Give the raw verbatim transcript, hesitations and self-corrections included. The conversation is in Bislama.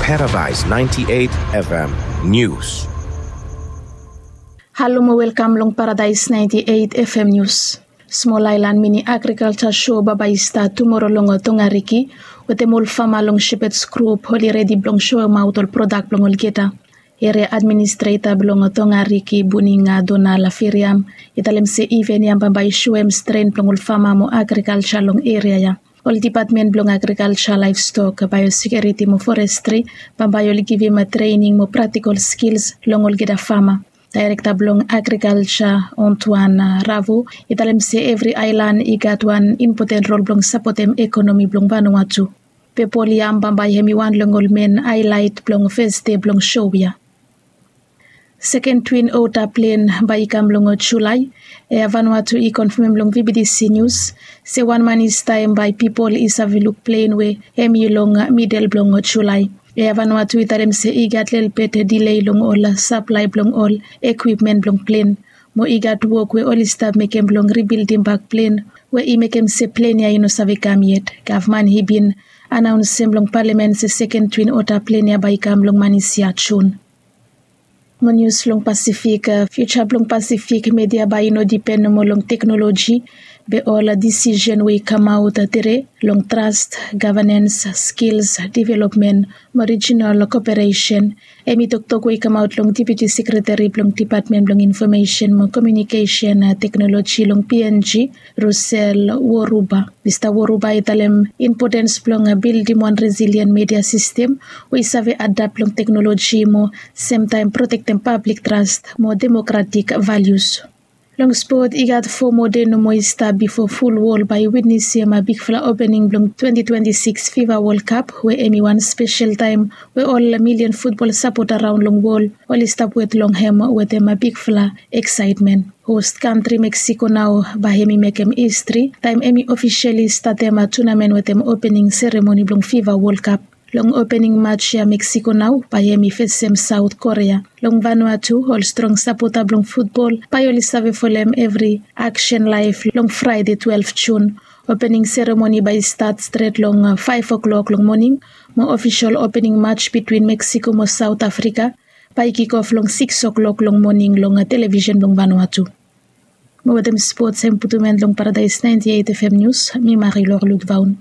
Paradise ninety-eight F M News. Halo mo welkam long Paradise ninety-eight F M News. Smol aelan mini agrikalja sho bambae i stat tumoro long Tongariki, wetem ol fama long Shepherds Group oli redi blong soemaot ol prodak blong olgeta. Eria administreta blong Tongariki, Buninga Donal Firiam, i talem se iven ya bambae i soem stren blong ol fama mo agrikalja long eria ya. Ol depatmen blong agrikalja, laevstok, baeosekiuriti mo forestri bambae oli givim trening mo praktikol skils long olgeta fama. Daerekta blong agrikalja, Antoine Ravo, i talem se evri aelan i gat wan impoten rol blong sapotem ekonomi blong Vanuatu. Pepol yam bambae hemi wan long ol men aelaet blong fes dei blong sho ya. Seken twin ota plen bae i kam long Julae. Eya Vanuatu i konfamem long V B T C Nius se wan man i stap bae pipol i save luk plen we hemi long midel blong Julae. Eya Vanuatu i talem se i gat lelebet dilei long ol saplae blong ol ekwipmen blong plen, mo i gat wok we oli stap mekem blong ribildim bak plen we i mekem se plen ya i no save kam yet. Gavman i bin anaonsem long palamen se seken twin ota plen ya bae i kam long manis ya Jun. Mo nius long Pasifik, fiuja blong Pasifik media bae i no dipen nomo long teknoloji, be ol disisen we i kamaot tede long tras, gavanens, skils developmen mo rijinal koperesen. Hemi toktok we i kamaot long Deputi Sekreteri blong Depatmen blong Infomesen mo Komiunikesen Teknoloji long P N G, Russell Woruba. Mista Woruba i talem impotens blong bildim wan resilien media sistem we i save adap long teknoloji mo semtaem protektem pablik tras mo demokratik valius. Long spot, i gat fo moa dei nomo i stap bifo ful wol bae i witnesem bigfala opening blong twenti twenti sikis FIFA Wol Kap, we hemi wan spesel taem we ol milian futbol sapota raon long wol oli stap wet long hem wetem bigfala eksaetmen. Host kantri Meksiko nao bae hemi mekem histri taem hemi ofisali statem tunamen wetem opening seremoni blong FIFA Wol Kap. Long opening maj ya Meksiko nao bae hemi fesem Saot Korea. Long Vanuatu, ol strong sapota blong futbol bae oli save folem evri aksen laef long Fraede twelef Jun. Opening seremoni bae i stat stret long faef o'klok long moning, mo ofisol opening maj bitwin Meksiko mo Saot Afrika bae i kikof long sikis o'klok long moning long televisen blong Vanuatu. Mo wetem spots hem putum en long Paradise ninety-eight F M Nius, mi Marilor Ludvaun.